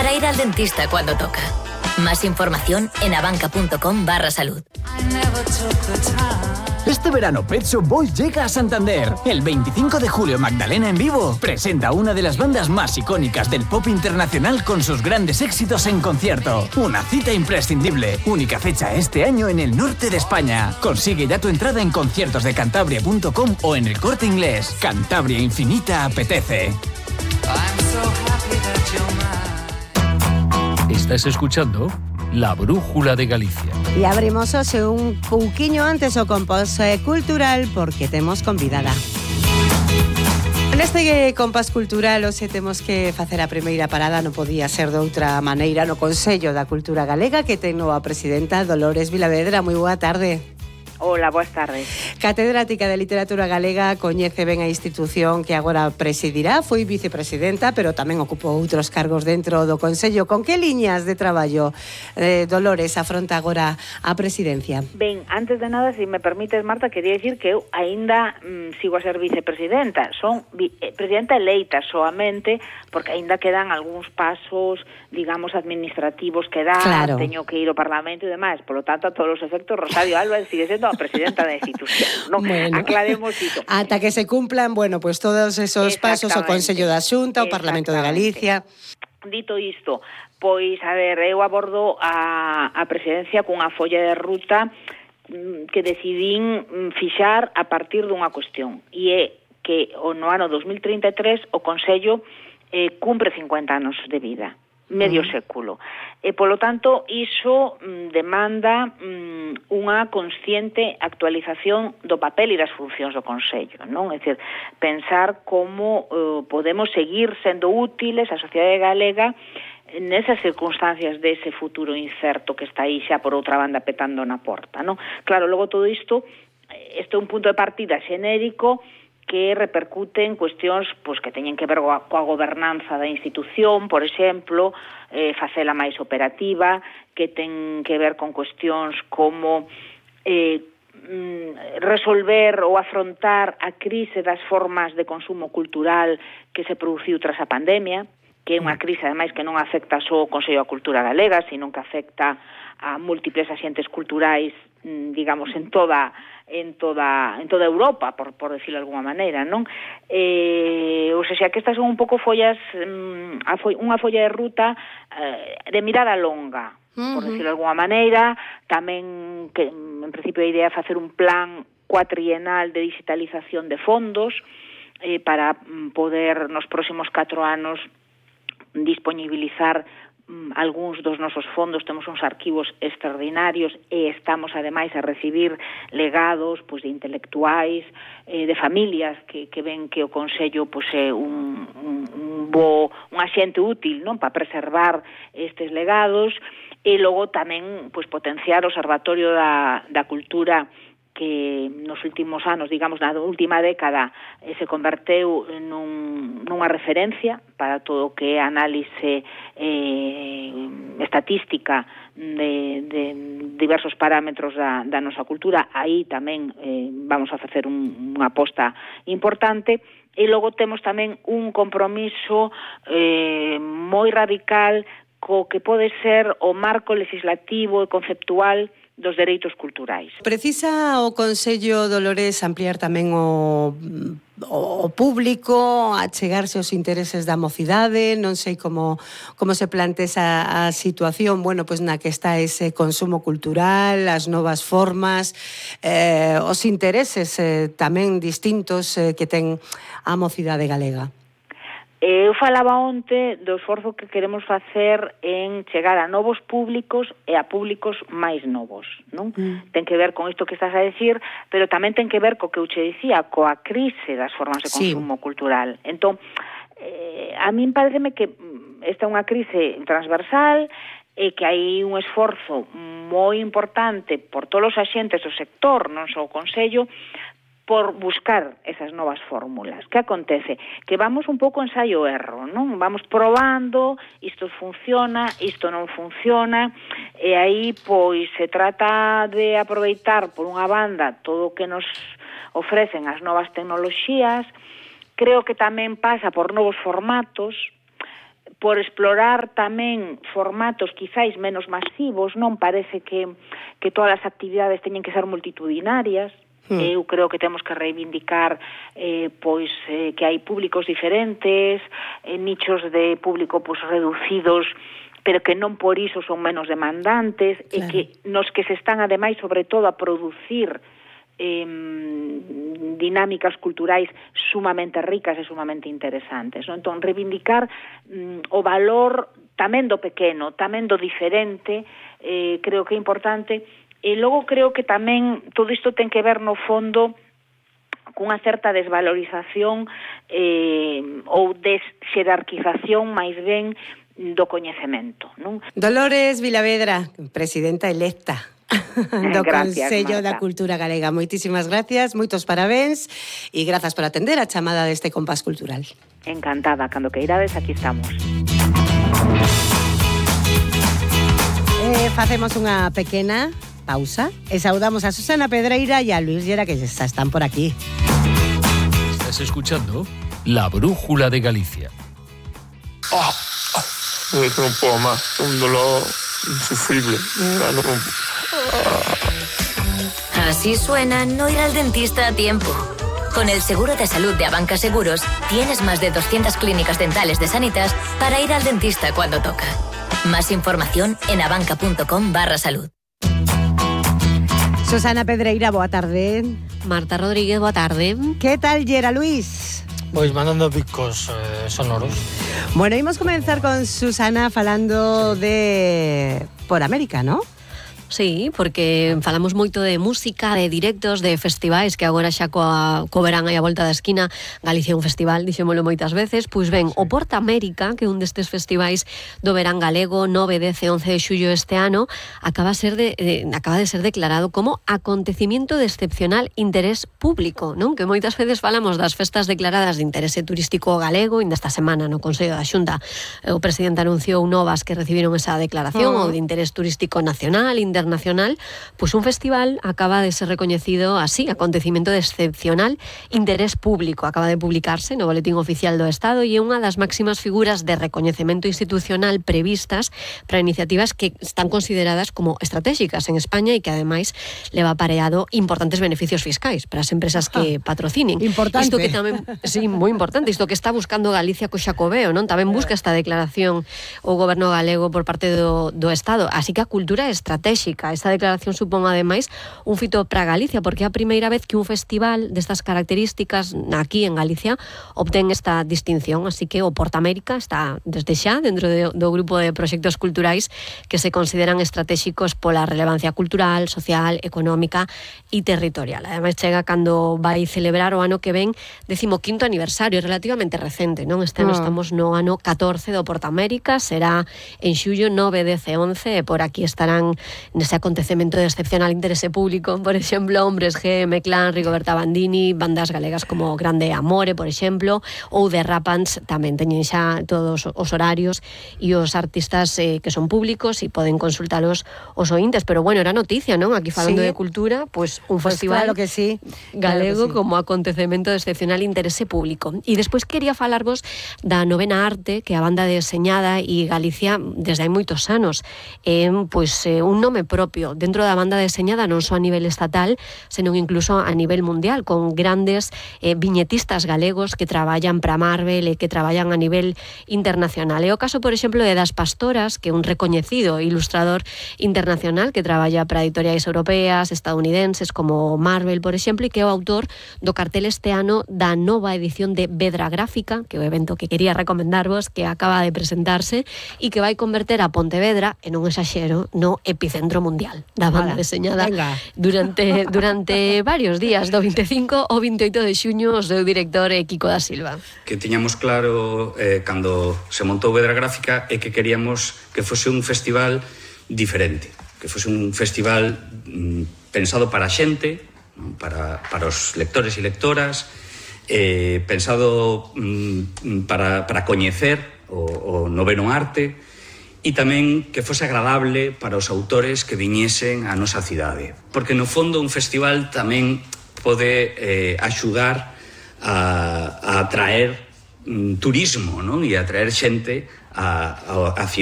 para ir al dentista cuando toca. Más información en abanca.com/salud. Este verano Pet Shop Boys llega a Santander. El 25 de julio Magdalena en vivo presenta una de las bandas más icónicas del pop internacional con sus grandes éxitos en concierto. Una cita imprescindible. Única fecha este año en el norte de España. Consigue ya tu entrada en conciertosdecantabria.com o en El Corte Inglés. Cantabria Infinita apetece. Estás escuchando La Brújula de Galicia. E abrimos hoxe un pouquiño antes o compás cultural porque temos convidada. Neste compás cultural hoxe temos que facer a primeira parada, non podía ser de outra maneira, no Consello da Cultura Galega, que ten nova presidenta Dolores Vilavedra. Moi boa tarde. Hola, boas tardes. Catedrática de Literatura Galega, coñece ben a institución que agora presidirá, foi vicepresidenta, pero tamén ocupou outros cargos dentro do Consello. Con que liñas de traballo, Dolores, afronta agora a presidencia? Ben, antes de nada, se me permites, Marta, quería dicir que eu aínda sigo a ser vicepresidenta. Son presidenta eleita soamente, porque aínda quedan algúns pasos, digamos, administrativos que dar, claro. Teño que ir ao Parlamento e demais. Por lo tanto, a todos os efectos, Rosario Álvarez sigue sendo a presidenta da institución, ¿no? Bueno, aclaremos iso. Ata que se cumplan, bueno, pues todos esos pasos, o Consello da Xunta, o Parlamento de Galicia. Dito isto, pois, a ver, eu abordo a presidencia cunha folla de ruta que decidín fixar a partir dunha cuestión, e é que no ano 2033 o Consello cumpre 50 anos de vida, medio século. E, polo tanto, iso demanda unha consciente actualización do papel e das funcións do Consello, non? É dicir, pensar como podemos seguir sendo útiles á sociedade galega nesas circunstancias dese futuro incerto que está aí xa por outra banda petando na porta, non? Claro, logo todo isto é un punto de partida xenérico que repercute en cuestións pois, que teñen que ver coa gobernanza da institución, por exemplo, facela máis operativa, que ten que ver con cuestións como resolver ou afrontar a crise das formas de consumo cultural que se produciu tras a pandemia, que é unha crise, ademais, que non afecta só o Consello da Cultura Galega, sino que afecta a múltiples axentes culturais, digamos, en toda Europa, por decirlo de alguma maneira, non? Ou seja, que estas son un pouco follas, unha folla de ruta de mirada longa, por decirlo de alguma maneira. Tamén, que en principio a idea é facer un plan cuatrienal de digitalización de fondos para poder nos próximos 4 anos disponibilizar algúns dos nosos fondos. Temos uns arquivos extraordinarios e estamos ademais a recibir legados pois, de intelectuais, de familias que ven que o Consello pois, é un axente útil, non, para preservar estes legados, e logo tamén pois, potenciar o Observatorio da Cultura, que nos últimos anos, digamos, na última década, se converteu nunha referencia para todo o que é análise estatística de diversos parámetros da nosa cultura. Aí tamén vamos a facer unha aposta importante. E logo temos tamén un compromiso moi radical co que pode ser o marco legislativo e conceptual dos dereitos culturais. Precisa o Consello, Dolores, ampliar tamén o público, achegarse aos intereses da mocidade, non sei como se plantea a situación, bueno, pois na que está ese consumo cultural, as novas formas, os intereses tamén distintos que ten a mocidade galega. Eu falaba onte do esforzo que queremos facer en chegar a novos públicos e a públicos máis novos, non? Ten que ver con isto que estás a decir, pero tamén ten que ver co que eu che dicía, coa crise das formas de consumo cultural. Entón, a min pareceme que esta é unha crise transversal e que hai un esforzo moi importante por todos os axentes do sector, non só o Consello, por buscar esas novas fórmulas. Que acontece? Que vamos un pouco ensaio-erro, non? Vamos probando, isto funciona, isto non funciona, e aí, pois, se trata de aproveitar, por unha banda, todo o que nos ofrecen as novas tecnoloxías. Creo que tamén pasa por novos formatos, por explorar tamén formatos quizáis menos masivos, non parece que todas as actividades teñen que ser multitudinarias. Eu creo que temos que reivindicar que hai públicos diferentes, nichos de público reducidos, pero que non por iso son menos demandantes, claro. E que nos que se están ademais sobre todo a producir dinámicas culturais sumamente ricas e sumamente interesantes, non? Entón, reivindicar o valor tamén do pequeno, tamén do diferente, creo que é importante. E logo creo que tamén todo isto ten que ver no fondo cunha certa desvalorización ou desxerarquización máis ben do coñecemento, non? Dolores Vilavedra, presidenta electa do Consello Marta. da Cultura Galega. Moitísimas gracias, moitos parabéns e grazas por atender a chamada deste compás cultural. Encantada, cando queirades, aquí estamos. Facemos unha pequena pausa e saudamos a Susana Pedreira e a Luis Llera, que xa están por aquí. Estás escuchando La Brújula de Galicia. No puedo más, un dolor insufrible. Así suena no ir al dentista a tiempo. Con el seguro de salud de Abanca Seguros, tienes más de 200 clínicas dentales de Sanitas para ir al dentista cuando toca. Más información en abanca.com/salud. Susana Pedreira, boa tarde. Marta Rodríguez, boa tarde. Que tal, Llera Luis? Pois mandando picos sonoros. Bueno, imos comenzar con Susana falando de Por América, ¿no? Sí, porque falamos moito de música, de directos, de festivais, que agora xa co verán aí a volta da esquina. Galicia é un festival, dixémolo moitas veces. Pois ben, o Porta América, que é un destes festivais do verán galego, 9, 10 e 11 de xullo este ano, acaba de ser declarado como acontecimiento de excepcional interés público, non? Que moitas veces falamos das festas declaradas de interese turístico galego, e esta semana no Consello da Xunta o presidente anunciou novas que recibiron esa declaración, ou de interés turístico nacional, internacional, pues un festival acaba de ser recoñecido así, acontecimiento de excepcional interés público. Acaba de publicarse no Boletín Oficial do Estado e é unha das máximas figuras de recoñecemento institucional previstas para iniciativas que están consideradas como estratégicas en España e que ademais leva apareado importantes beneficios fiscais para as empresas que patrocinen. Importante. Isto que tamén, sí, moi importante, isto que está buscando Galicia co Xacobeo, non? Tamén busca esta declaración o goberno galego por parte do Estado. Así que a cultura é estratégica. Esta declaración supón, ademais, un fito para Galicia, porque é a primeira vez que un festival destas características aquí en Galicia obtén esta distinción. Así que o Porta América está desde xa dentro do grupo de proxectos culturais que se consideran estratégicos pola relevancia cultural, social, económica e territorial. Ademais, chega cando vai celebrar o ano que ven 15º aniversario, relativamente recente, non? Este ano estamos no ano 14 do Porta América, será en xullo 9, 10 e 11, e por aquí estarán nese acontecemento de excepcional interese público, por exemplo, Hombres G, M-Clan, Rigoberta Bandini, bandas galegas como Grande Amore, por exemplo, ou The Rapans, tamén teñen xa todos os horarios e os artistas que son públicos e poden consultalos os ointes, pero bueno, era noticia, non? Aquí falando de cultura, pues un festival claro que sí, galego claro que sí, como acontecemento de excepcional interese público. E despois quería falarvos da Novena Arte, que a banda deseñada e Galicia desde hai moitos anos, un nome propio dentro da banda deseñada, non só a nivel estatal, senón incluso a nivel mundial, con grandes viñetistas galegos que traballan para Marvel e que traballan a nivel internacional. É o caso, por exemplo, de Das Pastoras, que é un recoñecido ilustrador internacional que traballa para editoriais europeas, estadounidenses, como Marvel, por exemplo, e que é o autor do cartel este ano da nova edición de Vedra Gráfica, que é o evento que quería recomendarvos, que acaba de presentarse e que vai converter a Pontevedra, e non exaxero, no epicentro mundial da banda deseñada durante varios días, do 25 ao 28 de xuño, o seu director Kiko da Silva. Que tiñamos claro cando se montou Vedra Gráfica é que queríamos que fose un festival diferente, que fose un festival pensado para a xente, para os lectores e lectoras, pensado para coñecer o noveno arte, e tamén que fose agradable para os autores que viñesen á nosa cidade. Porque, no fondo, un festival tamén pode axudar a atraer turismo, non? E atraer xente a